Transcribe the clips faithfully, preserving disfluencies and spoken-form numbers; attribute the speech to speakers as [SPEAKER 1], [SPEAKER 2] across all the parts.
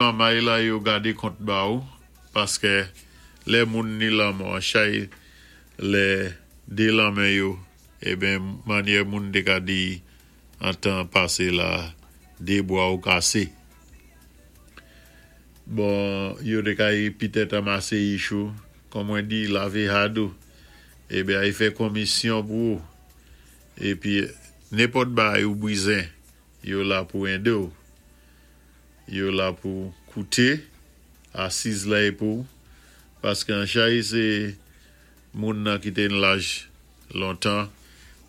[SPEAKER 1] Mamay la yo gadé kont ba ou, paskè lè moun ni lanmò, chay lè dé lanmen yo, eben mannyè moun té ka di an tan pasé la, dé bwa ou kasé. Bon, yo té kay pitèt anmasé yich ou, kon mwen di lavé had ou, eben ay fè konmisyon pou ou. Épi nenpòt bagay ou bizen, yo la pou édé ou. Yo la pou kouté, asiz la pou, paskè an chay sé moun nan ki té ni laj lontan,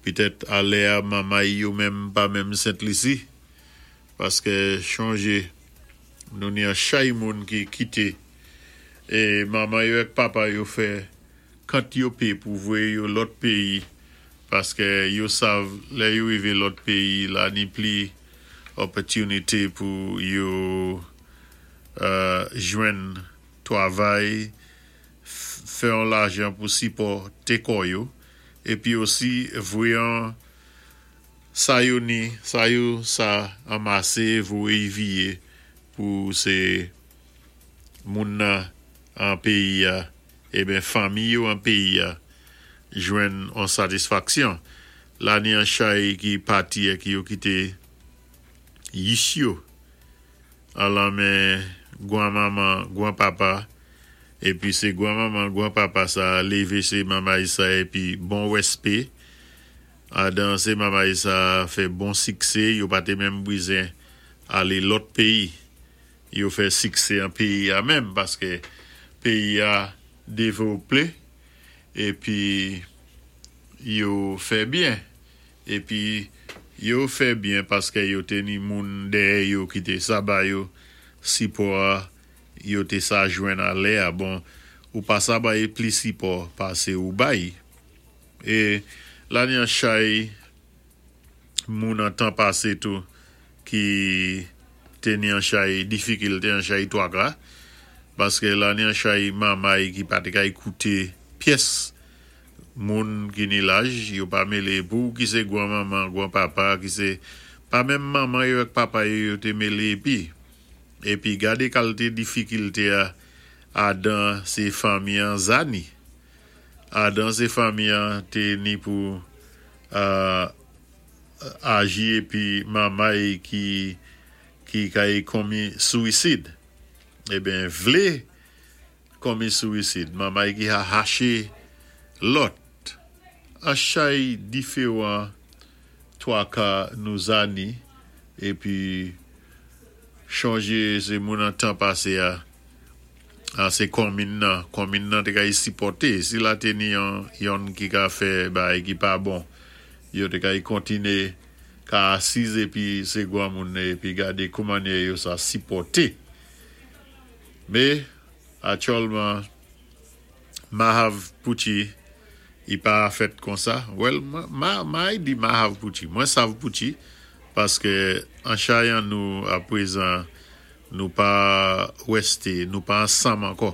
[SPEAKER 1] pitèt alè a mamay yo menm pa menm Sent Lisi, paskè chonjé nou ni an chay moun ki kité, é manman yo èk papa yo fè kant yo pé pou voyé yo lòt péyi, paskè yo sav lè yo wivé lòt péyi la ni pli opòtinité pou yo euh, jwenn twavay, fè an lajan pou sipòté kò yo, épi osi voyé an sa yo ni, sa yo sa anmasé, voyé vié pou sé moun nan an péyi a, eben fanmi yo an péyi a, jwenn an satisfaksyon. La ni an chay ki pati ki yo kité yich yo, an lanmen gwan manman, gwan papa, épi sé gwan manman, gwan papa sa lévé sé mamay sa épi bon wèspé, adan sé mamay sa fè bon siksé, yo pa té menm bizen alé lòt péyi. Yo fè siksé an péyi a menm, paskè péyi a dévlopé, épi yo fè byen. Épi yo fè byen paskè yo té ni moun dèyè yo ki té sa ba yo sipò a, yo té sa jwenn alè a. Bon, ou pa sa bay pli sipò pasé ou bay. É la ni an chay moun an tan pasé tou ki té ni an chay difikilté, an chay twaka, paskè la ni an chay mamay ki pa té kay kouté pyès moun ki ni laj, yo pa mélé pou ki sé gwan manman, gwan papa, ki sé pa menm manman yo èk papa yo, yo té mélé épi. Épi gadé kalité difikilté a adan sé fanmi an zani. Adan sé fanmi an té ni pou euh, aji épi mamay ki ki kay konmi swisid. Eben vlé konmi swisid. Mamay ki a haché lòt. An chay diféwan twaka nou zani épi chonjé sé moun an tan pasé a, a sé konmin nan, konmin nan té kay sipòté. Si la té ni yon, yonn ki ka fè bagay ki pa bon, yo té kay kontiné ka asiz épi sé gwan moun épi gadé kouman yo sa sipòté. Mé aktyèlman mahav pouti i pa fèt konsa. Well, ma, ma di mahav pouti. Mwen sav pouti paskè an chay an nou apwézan nou pa wèsté, nou pa ansanm ankò.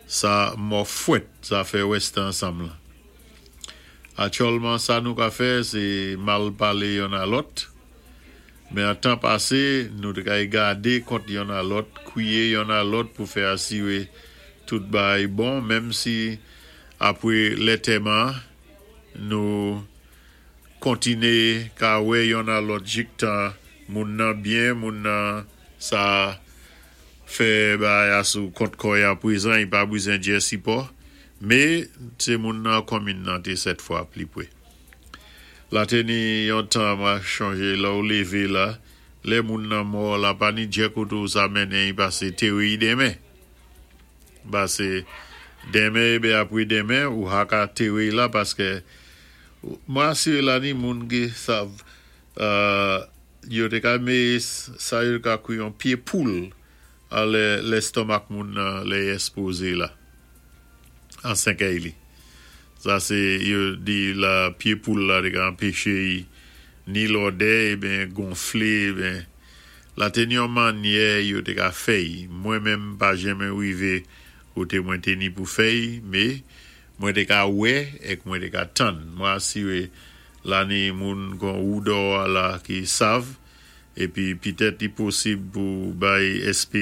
[SPEAKER 1] Sa mò fwèt, sa fè wèsté ansanm la. Aktyèlman sa nou ka fè, sé mal palé yonn a lòt. Mé an tan pasé, nou té kay gadé kont yonn a lòt, kwiyé yonn a lòt pou fè asiwé tout bagay bon, menm si apwé lantèman, nou kontiné ka wè yonn a lòt jiktan moun nan byen, moun nan sa fè bagay a sou kont kò y apwézan, i pa bizen djè sipò, mé sé moun nan konmin nan té sèt fwa pli pwé. La té ni yon tan mwen chonjé la ou lévé la, lè moun nan mò la pa ni djè koté ou sa mennen i pasé téré i denmen. Pasé denmen ébé apwé denmen ou ha ka téré la paskè mwen asiré la ni moun ki sav euh, yo té ka mé sa yo ka kwi yon pyé poul a lè lèstomak moun nan lè èspozé la an sèkèy li. Sa sé yo di la pyé poul la té ka anpéché ni lodè eben gonflé eben la té ni yon mannyè yo té ka fè'y. Mwen menm pa janmen wivé koté mwen té ni pou fè'y, mé mwen té ka wè èk mwen té ka tann. Mwen asiré la ni moun kon ou dò la ki sav épi pitèt li posib pou bay S P